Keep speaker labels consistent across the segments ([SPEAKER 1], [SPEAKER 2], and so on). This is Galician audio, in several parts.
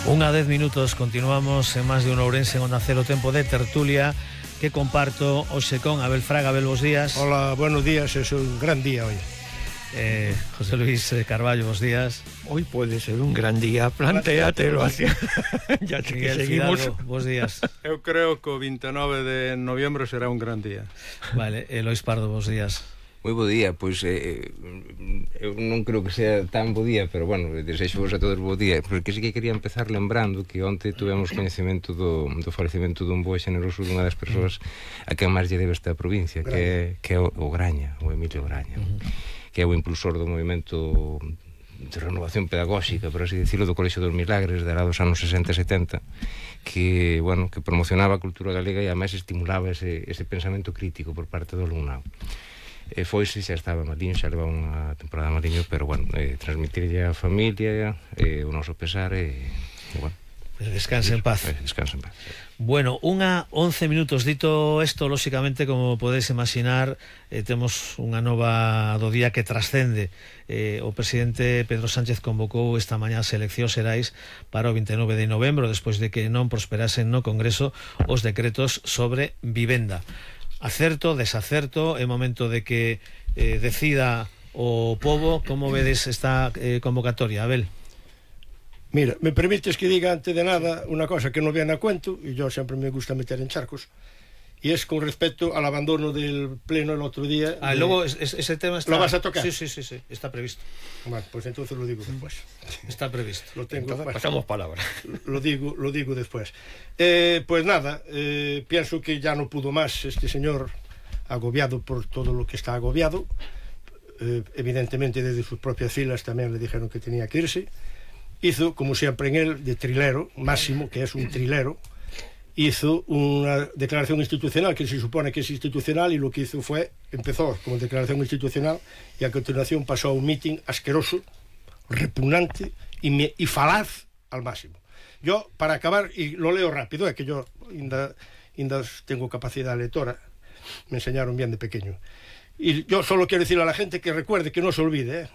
[SPEAKER 1] Unha 10 minutos, continuamos en Más de un Ourense en Onda Cero, tempo de tertulia que comparto hoxe con Abel Fraga. Abel, bos días.
[SPEAKER 2] Hola, buenos días, es un gran día hoy.
[SPEAKER 1] José Luis Carballo, bos días.
[SPEAKER 3] Hoy puede ser un gran día, plantéatelo así. Ya que
[SPEAKER 1] Miguel
[SPEAKER 3] seguimos.
[SPEAKER 1] Fidalgo, bos días.
[SPEAKER 4] Eu creo que o 29 de novembro será un gran día.
[SPEAKER 1] Vale, Lois Pardo, bos días.
[SPEAKER 5] Moi bo día, pois eu non creo que sea tan bo día, pero bueno, desexo vos a todos bo día, porque sí que quería empezar lembrando que onte tuvemos coñecemento do falecemento dun bo e generoso dunha das persoas a quen máis lle debe esta provincia, que é o Graña, o Emilio Graña, que é o impulsor do movimento de renovación pedagóxica, por así decirlo, do Colexio dos Milagres, de lá dos anos 60 e 70, que, bueno, que promocionaba a cultura galega e ademais estimulaba ese pensamento crítico por parte do alumnado. Foise, xa estaba maliño, xa leva unha temporada maliño, pero bueno, transmitirlle a familia o noso pesar e bueno,
[SPEAKER 1] descanse en paz.
[SPEAKER 5] Descanse en paz.
[SPEAKER 1] Bueno, unha 11 minutos. Dito isto, lóxicamente, como podedes imaginar, temos unha nova do día que trascende. O presidente Pedro Sánchez convocou esta mañá as eleccións xerais para o 29 de novembro, despois de que non prosperasen no Congreso os decretos sobre vivenda. Acerto, desacerto, é momento de que decida o pobo. Como vedes esta convocatoria, Abel?
[SPEAKER 2] Mira, me permites que diga antes de nada una cosa que no viene a cuento, y yo siempre me gusta meter en charcos, y es con respecto al abandono del pleno el otro día.
[SPEAKER 1] Luego ese tema está...
[SPEAKER 2] ¿Lo vas a tocar?
[SPEAKER 1] Sí, está previsto.
[SPEAKER 2] Bueno, pues entonces lo digo después.
[SPEAKER 1] Está previsto.
[SPEAKER 2] Lo tengo.
[SPEAKER 3] Entonces, pasamos palabra.
[SPEAKER 2] Lo digo después. Pues nada, pienso que ya no pudo más este señor, agobiado por todo lo que está agobiado. Evidentemente desde sus propias filas también le dijeron que tenía que irse. Hizo, como siempre en él, de trilero, Máximo, que es un trilero, hizo una declaración institucional que se supone que es institucional, y lo que hizo fue, empezó como declaración institucional y a continuación pasó a un meeting asqueroso, repugnante y falaz al máximo. Yo, para acabar, y lo leo rápido, es que yo ainda tengo capacidad lectora, me enseñaron bien de pequeño, y yo solo quiero decirle a la gente que recuerde, que no se olvide,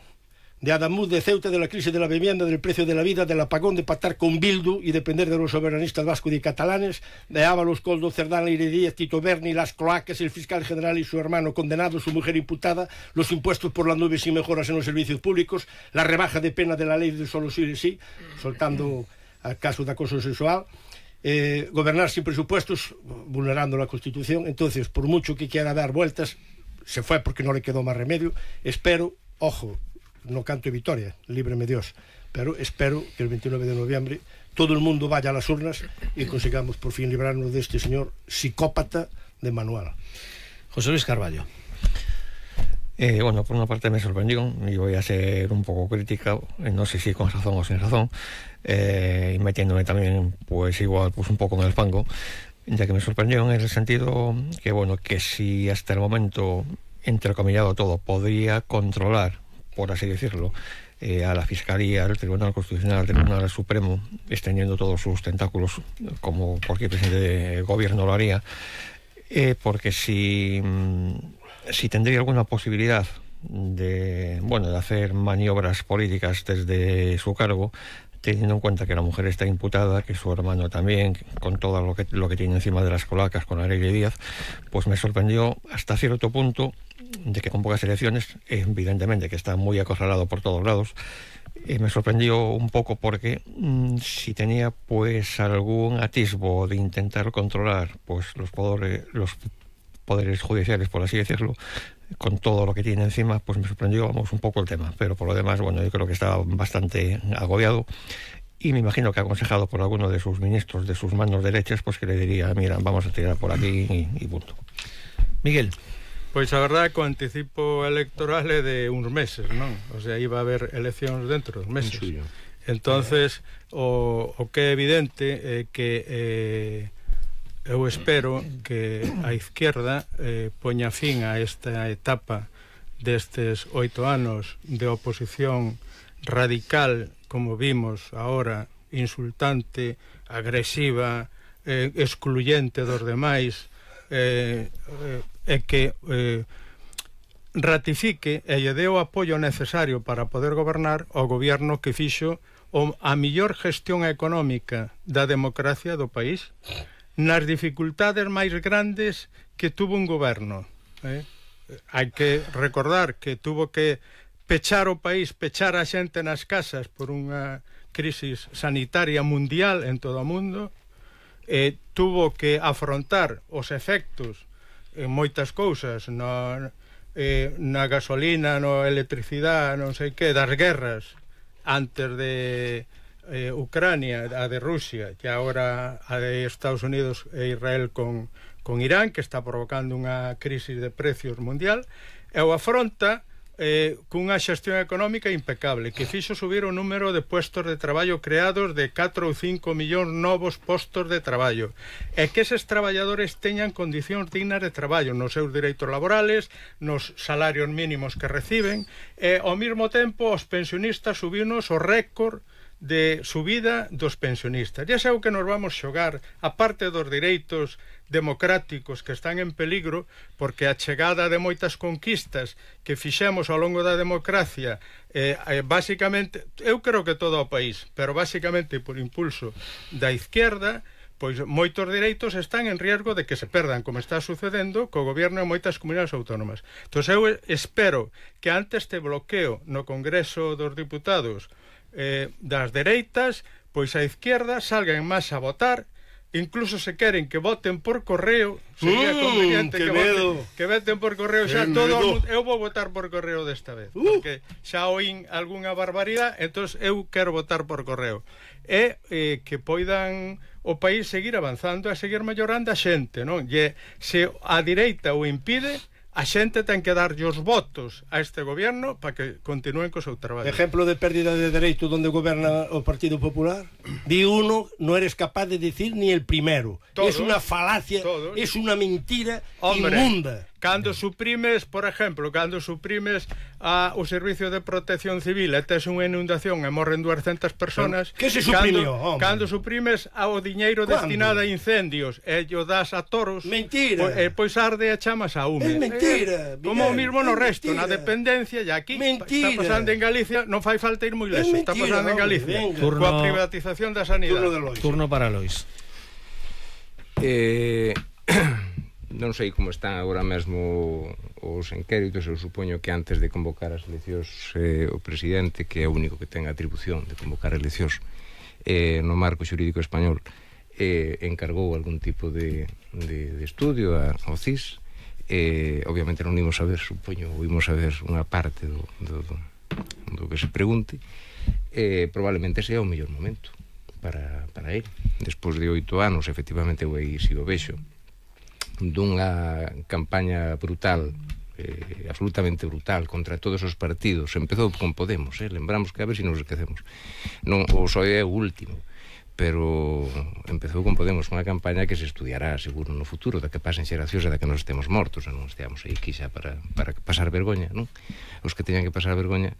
[SPEAKER 2] de Adamuz, de Ceuta, de la crisis de la vivienda, del precio de la vida, del apagón, de pactar con Bildu y depender de los soberanistas vascos y catalanes, de Ábalos, Coldo, Cerdán, Leire Díaz, Tito Berni, las cloacas, el fiscal general y su hermano condenado, su mujer imputada, los impuestos por las nubes y mejoras en los servicios públicos, la rebaja de pena de la ley de solo sí y sí, soltando al caso de acoso sexual, gobernar sin presupuestos, vulnerando la Constitución. Entonces, por mucho que quiera dar vueltas, se fue porque no le quedó más remedio. Espero, ojo, no canto victoria, líbreme Dios, pero espero que el 29 de noviembre todo el mundo vaya a las urnas y consigamos por fin librarnos de este señor psicópata de manual.
[SPEAKER 1] José Luis Carballo.
[SPEAKER 3] Bueno, por una parte me sorprendió, y voy a ser un poco crítica, no sé si con razón o sin razón, y metiéndome también, pues igual, pues un poco en el fango, ya que me sorprendió en el sentido que, bueno, que si hasta el momento, entrecomillado todo, podría controlar, por así decirlo, a la Fiscalía, al Tribunal Constitucional, al Tribunal Supremo, extendiendo todos sus tentáculos, como cualquier presidente de gobierno lo haría, porque si tendría alguna posibilidad de hacer maniobras políticas desde su cargo, teniendo en cuenta que la mujer está imputada, que su hermano también, con todo lo que tiene encima de las colacas con Leire Díaz, pues me sorprendió hasta cierto punto de que con pocas elecciones, evidentemente que está muy acorralado por todos lados. Me sorprendió un poco porque si tenía pues algún atisbo de intentar controlar pues los poderes judiciales, por así decirlo, con todo lo que tiene encima, pues me sorprendió, un poco el tema. Pero por lo demás, bueno, yo creo que estaba bastante agobiado, y me imagino que aconsejado por alguno de sus ministros, de sus manos derechas, pues que le diría, mira, vamos a tirar por aquí y punto.
[SPEAKER 1] Miguel.
[SPEAKER 4] Pois a verdade que o anticipo electoral é de uns meses, non? O sea, iba a haber eleccións dentro dos meses. Entonces, o que é evidente é que eu espero que a izquierda poña fin a esta etapa destes 8 anos de oposición radical, como vimos ahora, insultante, agresiva, excluyente dos demais, e que ratifique e lle dé o apoio necesario para poder gobernar ao goberno que fixo a mellor gestión económica da democracia do país nas dificultades máis grandes que tuvo un goberno. Hai que recordar que tuvo que pechar o país, pechar a xente nas casas por unha crisis sanitaria mundial en todo o mundo, tuvo que afrontar os efectos en moitas cousas na gasolina, na electricidade, non sei que, das guerras antes de Ucrania, a de Rusia, e agora a de Estados Unidos e Israel con Irán, que está provocando unha crisis de precios mundial, e o afronta cunha xestión económica impecable, que fixo subir o número de puestos de traballo creados de 4 ou 5 millóns novos postos de traballo, e que eses traballadores teñan condicións dignas de traballo nos seus dereitos laborales, nos salarios mínimos que reciben, e ao mesmo tempo os pensionistas subinos o récord de subida dos pensionistas. E é o que nos vamos xogar, a parte dos dereitos democráticos que están en peligro, porque a chegada de moitas conquistas que fixemos ao longo da democracia, basicamente, eu creo que todo o país, pero basicamente por impulso da izquierda, pois moitos dereitos están en riesgo de que se perdan, como está sucedendo co goberno en moitas comunidades autónomas. Entón eu espero que ante este bloqueo no Congreso dos Diputados das dereitas, pois a izquierda salga en masa a votar, incluso se queren que voten por correo, sería conveniente que voten por correo xa todo o mundo. Eu vou votar por correo desta vez, porque xa oín algunha barbaridade, entón eu quero votar por correo, e que poidan o país seguir avanzando e seguir mellorando a xente, non? E se a direita o impide, a xente ten que darlle os votos a este goberno para que continúen co seu traballo.
[SPEAKER 2] Ejemplo de pérdida de dereito donde goberna o Partido Popular. Di uno, no eres capaz de decir ni el primero. Es una falacia, es una mentira inmunda.
[SPEAKER 4] Cando suprimes, por exemplo, cando suprimes o Servicio de Protección Civil e tes unha inundación e morren 200 personas,
[SPEAKER 2] que se suprimió?
[SPEAKER 4] Cando suprimes o diñeiro destinado a incendios e o das a toros,
[SPEAKER 2] mentira.
[SPEAKER 4] Pois arde e chamas a hume.
[SPEAKER 2] Es mentira.
[SPEAKER 4] Como o mismo no resto, na dependencia, e aquí está pasando en Galicia, non fai falta ir moi lejos, está pasando en Galicia, coa privatización da sanidade.
[SPEAKER 1] Turno para Lois.
[SPEAKER 5] Non sei como están agora mesmo os inquéritos. Eu supoño que antes de convocar as eleccións o presidente, que é o único que ten a atribución de convocar eleccións no marco xurídico español, encargou algún tipo de estudio ao CIS. Obviamente non imos saber, supoño, imos saber unha parte do que se pregunte. Probablemente sea o mellor momento para ele. Despois de 8 anos, efectivamente, eu aí si o vexo, dunha campaña brutal, absolutamente brutal, contra todos os partidos. Empezou con Podemos, lembramos que a ver se nos esquecemos. Non, o PSOE é o último, pero empezou con Podemos, unha campaña que se estudiará seguro no futuro, da que pasen xeracións e da que nos estemos mortos, e non esteamos aí quizá para pasar vergoña, non? Os que teñan que pasar vergoña,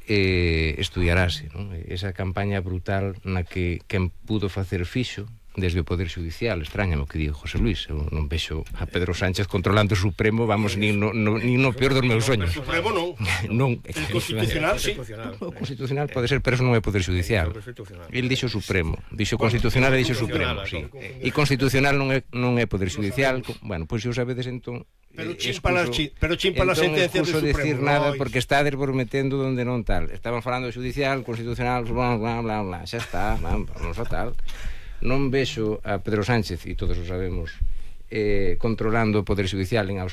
[SPEAKER 5] estudiarase, non? Esa campaña brutal na que quen pudo facer fixo desde o Poder Judicial. Extrañame o que digo José Luis, eu non vexo a Pedro Sánchez controlando o Supremo, vamos, nin no peor dos meus soños.
[SPEAKER 2] O Supremo non.
[SPEAKER 5] El
[SPEAKER 2] Constitucional, sí.
[SPEAKER 5] O Constitucional pode ser, pero eso non é Poder Judicial. El dixo Supremo, dixo Constitucional e dixo Supremo, sí. E Constitucional non é Poder Judicial. Bueno, pois se o sabedes entón,
[SPEAKER 2] pero chimpa la sentencia do Supremo.
[SPEAKER 5] Decir nada porque estades metendo donde non tal. Estaban falando de Judicial, Constitucional, bla, bla, bla, bla. Xa está, vamos a tal. Non vexo a Pedro Sánchez, e todos o sabemos, controlando o Poder Judicial en absoluto.